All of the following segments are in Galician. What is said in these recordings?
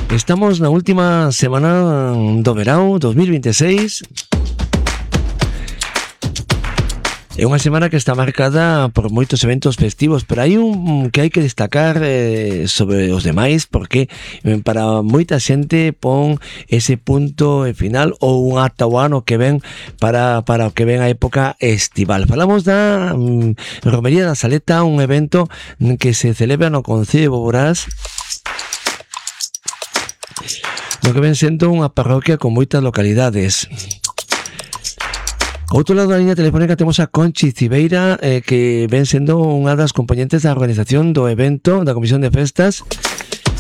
Estamos na última semana do verão 2026. É unha semana que está marcada por moitos eventos festivos, pero hai un que hai que destacar sobre os demais, porque para moita xente pon ese punto final ou un ata o ano que ven para o que ven a época estival. Falamos da Romería da Saleta, un evento que se celebra no Concello de Boborás, no que ven sendo unha parroquia con moitas localidades. Ao outro lado da liña telefónica temos a Conchi Cibeira, que ven sendo unha das componentes da organización do evento da Comisión de Festas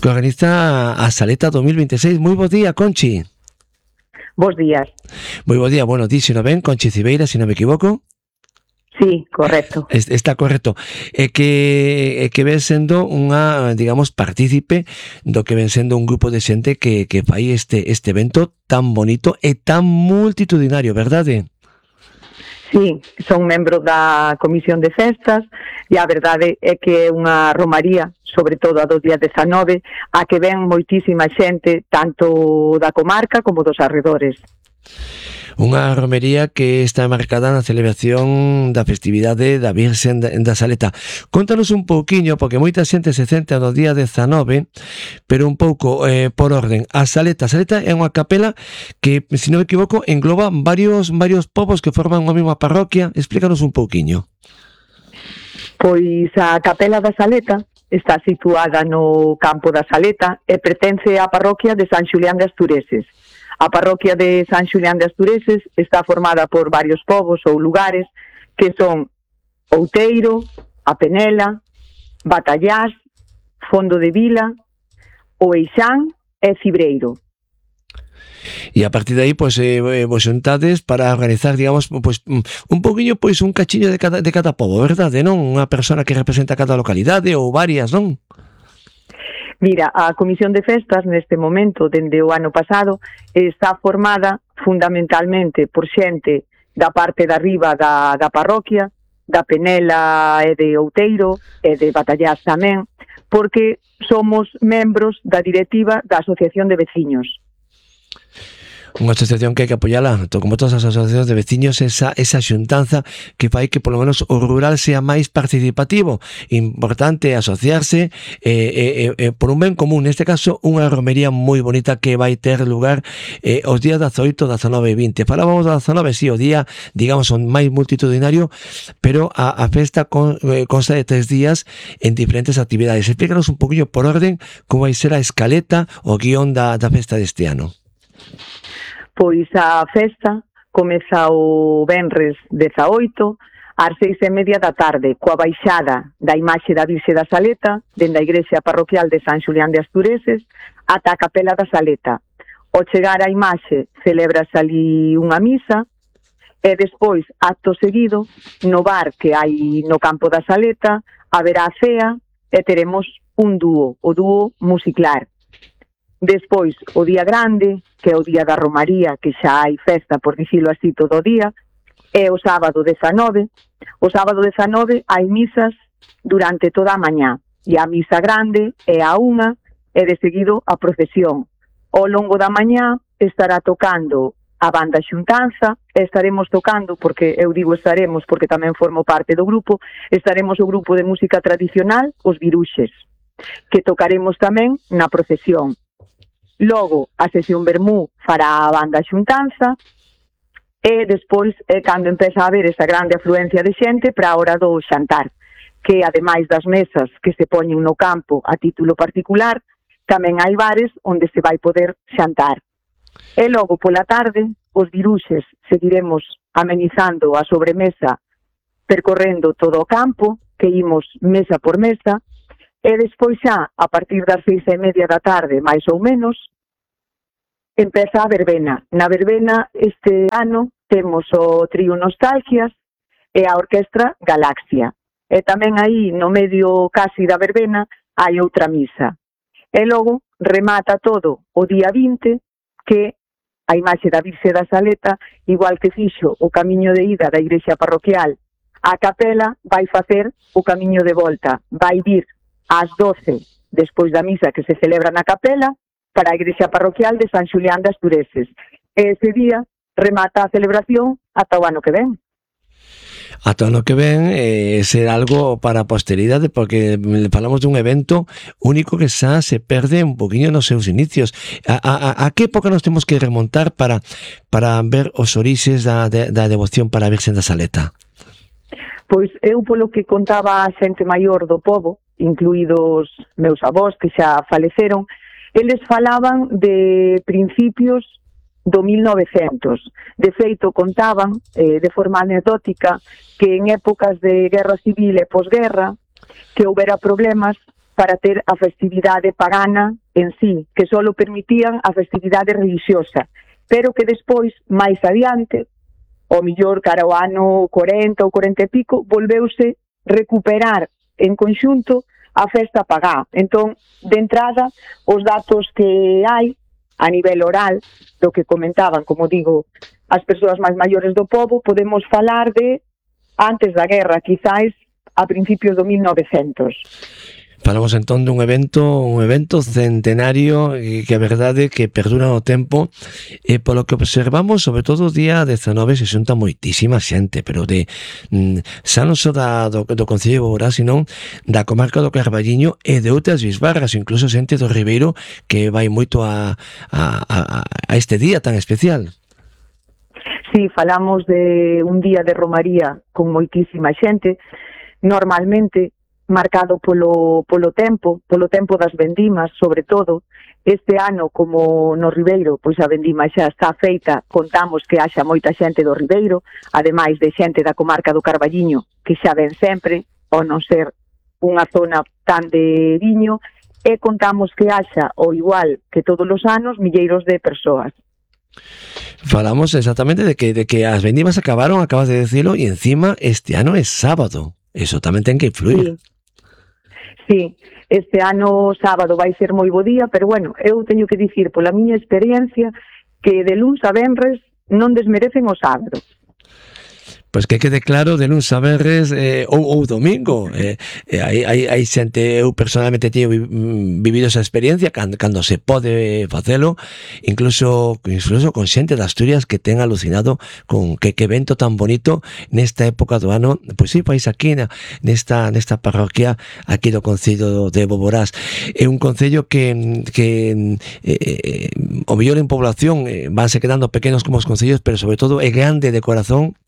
que organiza a Saleta 2026. Moi bo día, Conchi. Bos días. Moi bo día. Bueno, díxeno ben, Conchi Cibeira, se non me equivoco. Sí, correcto. Está correcto. Que ven sendo unha, digamos, partícipe do que ven sendo un grupo de xente que fai este evento tan bonito e tan multitudinario, verdade? Sí, son membro da Comisión de Festas e a verdade é que é unha romaría, sobre todo a do día 19, a que ven moitísima xente, tanto da comarca como dos arredores. Unha romería que está marcada na celebración da festividade da Virxen da Saleta. Contanos un pouquiño, porque moita xente se centra no día 19, pero un pouco por orden. A Saleta é unha capela que, se non me equivoco, engloba varios povos que forman unha mesma parroquia. Explícanos un pouquiño. Pois a capela da Saleta está situada no campo da Saleta e pertence á parroquia de San Xulián de Astureses. A parroquia de San Xulián de Astureses está formada por varios povos ou lugares que son Outeiro, A Penela, Batallás, Fondo de Vila, Oeixán e Cibreiro. E a partir de aí, pois, vos xuntades para organizar, digamos, pois, un pouquiño, pois, un cachiño de cada povo, verdade, non? Unha persona que representa cada localidade ou varias, non? Mira, a Comisión de Festas neste momento, dende o ano pasado, está formada fundamentalmente por xente da parte de arriba da parroquia, da Penela e de Outeiro e de Batallás tamén, porque somos membros da directiva da Asociación de Veciños. Unha asociación que hai que apoiala, como todas as asociacións de veciños, esa xuntanza que fai que polo menos o rural sea máis participativo. Importante asociarse por un ben común, neste caso unha romería moi bonita que vai ter lugar os días 18, 19 e 20. Falábamos do 19, sí, o día, digamos, máis multitudinario, pero a festa consta de 3 días en diferentes actividades. Explícanos un poquinho por orden como vai ser a escaleta, o guión da festa deste ano. Pois a festa comeza o venres 18 ás 6:30 da tarde, coa baixada da imaxe da Virxe da Saleta, dende a igrexa parroquial de San Xulián de Astureses, ata a capela da Saleta. Ao chegar a imaxe, celébrase ali unha misa, e despois, acto seguido, no bar que hai no campo da Saleta, haberá a cea e teremos un dúo, o dúo Musiclar. Despois, o día grande, que é o día da Romaría, que xa hai festa, por dicilo así, todo o día, é o sábado 19. O sábado 19 hai misas durante toda a mañá, e a misa grande é a 1, e de seguido a procesión. Ao longo da mañá estará tocando a banda xuntanza, e estaremos tocando, porque eu digo estaremos porque tamén formo parte do grupo, estaremos o grupo de música tradicional, os Viruxes, que tocaremos tamén na procesión. Logo, a sesión vermú fará a banda xuntanza e despois é cando empeza a haber esa grande afluencia de xente para a hora do xantar, que ademais das mesas que se poñen no campo a título particular, tamén hai bares onde se vai poder xantar. E logo pola tarde, os Viruxes seguiremos amenizando a sobremesa percorrendo todo o campo, que imos mesa por mesa, e despois xa, a partir das 6:30 da tarde, máis ou menos, empeza a verbena. Na verbena, este ano, temos o trío Nostalgias e a orquestra Galaxia. E tamén aí, no medio casi da verbena, hai outra misa. E logo, remata todo o día 20, que a imaxe da Virxe da Saleta, igual que fixo o camiño de ida da igrexa parroquial, a capela vai facer o camiño de volta, vai vir ás 12, despois da misa que se celebra na capela, para a igrexa parroquial de San Xulián de Astureses. E ese día remata a celebración ata o ano que ven. Ata o ano que ven ser algo para a posteridade, porque falamos dun evento único que xa se perde un poquinho nos seus inicios. A que época nos temos que remontar para ver os orixes da devoción para a Virxen da Saleta? Pois eu, polo que contaba a xente maior do pobo, incluídos meus avós que xa faleceron, eles falaban de principios do 1900. De feito, contaban, de forma anecdótica, que en épocas de guerra civil e posguerra, que houbera problemas para ter a festividade pagana en sí, que só permitían a festividade religiosa, pero que despois, máis adiante, o millor cara ao ano 40 ou 40 e pico, volveuse recuperar en conxunto a festa pagá. Entón, de entrada, os datos que hai a nivel oral, do que comentaban, como digo, as persoas máis maiores do pobo, podemos falar de antes da guerra, quizáis a principios do 1900. Falamos entón dun evento centenario que a verdade que perdura no tempo, e polo que observamos, sobre todo o día 19 se xunta moitísima xente, pero xa non só do Concello de Boborá, sino da comarca do Carballiño e de outras bisbarras, incluso xente do Ribeiro que vai moito a este día tan especial. Sí, falamos de un día de romaría con moitísima xente, normalmente marcado polo tempo das vendimas, sobre todo. Este ano, como no Ribeiro, pois a vendima xa está feita, contamos que haxa moita xente do Ribeiro, ademais de xente da comarca do Carballiño, que xa ven sempre, ao non ser unha zona tan de viño, e contamos que haxa, ao igual que todos os anos, milleiros de persoas. Falamos exactamente de que as vendimas acabaron, acabas de decirlo, e encima este ano é sábado. Eso tamén ten que influir. Sí, este ano sábado vai ser moi bo día, pero bueno, eu teño que dicir pola miña experiencia que de luns a venres non desmerecen o sábado. Pois que quede claro, de luns a venres ou domingo. Hai xente, eu personalmente teño vivido esa experiencia cando se pode facelo, incluso con xente de Asturias que ten alucinado con que evento tan bonito nesta época do ano. Pois sí, país aquí nesta parroquia aquí do Concello de Boborás. É un concello que o mellor en población vanse quedando pequenos como os concellos, pero sobre todo é grande de corazón.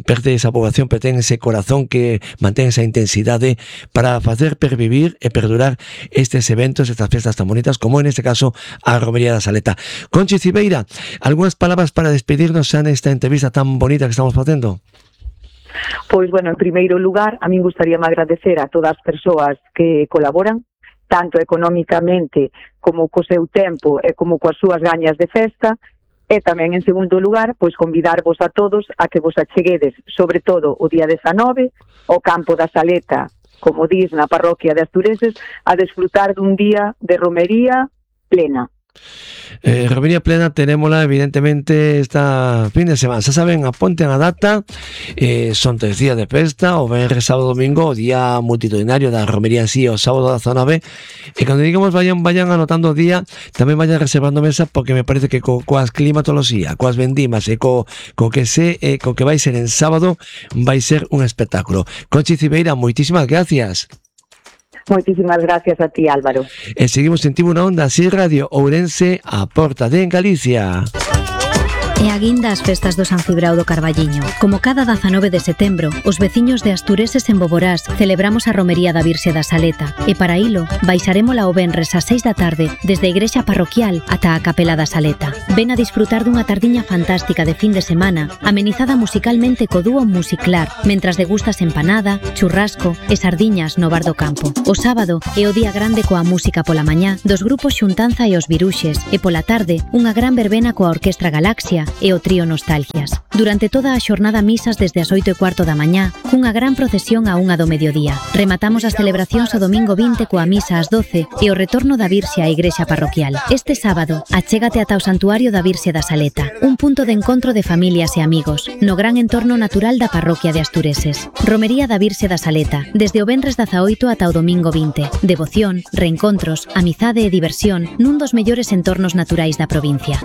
Perde esa población, pero ten ese corazón que mantén esa intensidade para facer pervivir e perdurar estes eventos, estas fiestas tan bonitas como en este caso a Romería da Saleta. Conchi Cibeira, algunhas palabras para despedirnos xa nesta entrevista tan bonita que estamos facendo? Pois, bueno, en primeiro lugar, a min gustaríame agradecer a todas as persoas que colaboran, tanto económicamente como co seu tempo e como coas súas gañas de festa. E tamén, en segundo lugar, pois convidarvos a todos a que vos acheguedes, sobre todo o día 19, ao campo da Saleta, como dis na parroquia de Astureses, a desfrutar dun día de romería plena. Romería plena tenémola evidentemente esta fin de semana. Xa saben, aponten a data, son 3 días de festa, o venres, sábado, domingo, o día multitudinario da romería en sí, o sábado 19, e cando digamos vayan anotando o día, tamén vayan reservando mesa, porque me parece que coas climatoloxía, coas vendimas e co que vai ser en sábado, vai ser un espectáculo. Conchi Cibeira, moitísimas gracias. Moitísimas gracias a ti, Álvaro. E seguimos en Tibo na Onda, así Radio Ourense, a porta de Galicia. E aguinda as festas do San Cibrao do Carballiño. Como cada 19 de setembro, os veciños de Astureses en Boborás celebramos a romería da Virxe da Saleta, e para ilo baixarémola o venres ás 6 da tarde desde a igrexa parroquial ata a capela da Saleta. Ven a disfrutar dunha tardiña fantástica de fin de semana, amenizada musicalmente co dúo Musiclar, mentras degustas empanada, churrasco e sardiñas no bar do campo. O sábado é o día grande coa música pola mañá dos grupos Xuntanza e os Viruxes, e pola tarde unha gran verbena coa Orquestra Galaxia e o trío Nostalgias. Durante toda a xornada misas desde as 8:15 da mañá, cunha gran procesión a 1 do mediodía. Rematamos as celebracións o domingo 20 coa misa ás 12 e o retorno da Virxe á igrexa parroquial. Este sábado, achégate ata o Santuario da Virxe da Saleta, un punto de encontro de familias e amigos, no gran entorno natural da parroquia de Astureses. Romería da Virxe da Saleta, desde o venres 18 ata o domingo 20. Devoción, reencontros, amizade e diversión nun dos mellores entornos naturais da provincia.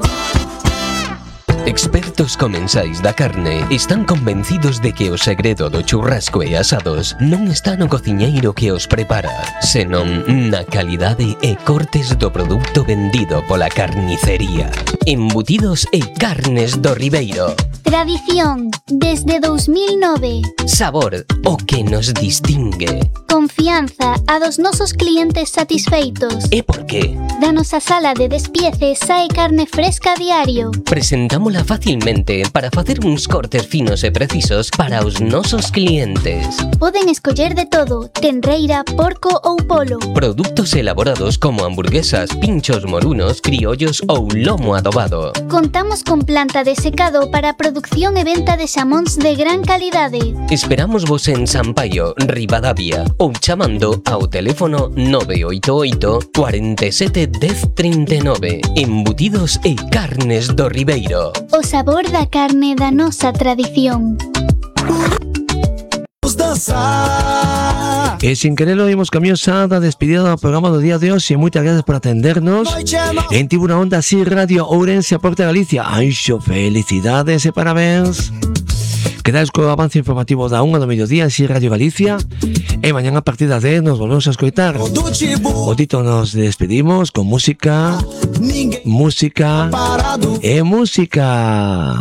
Expertos comensais da carne están convencidos de que o segredo do churrasco e asados non está no cociñeiro que os prepara, senón na calidade e cortes do produto vendido pola carnicería. Embutidos e carnes do Ribeiro. Tradición, desde 2009. Sabor, o que nos distingue. Confianza, a dos nosos clientes satisfeitos. E por qué? Da nosa sala de despiece sae carne fresca a diario. Presentámola facilmente para facer uns cortes finos e precisos para os nosos clientes. Poden escoller de todo, tenreira, porco ou polo. Produtos elaborados como hamburguesas, pinchos morunos, criollos ou lomo adobado. Contamos con planta de secado para producción e venta de xamóns de gran calidade. Esperamos vos en Sampaio, Ribadavia ou chamando ao teléfono 988 47 10 39. Embutidos e carnes do Ribeiro. O sabor da carne da nosa tradición. E sin quererlo imos cambios a da despedida do programa do día de hoxe. Moitas gracias por atendernos en Tibuna Onda Si Radio Ourense a Porta Galicia. Anxo, felicidades e parabéns. Quedades co avance informativo da 1 do mediodía en Si Radio Galicia. E mañán a partir das 10 nos volvemos a escoitar. O dito nos despedimos con música e música.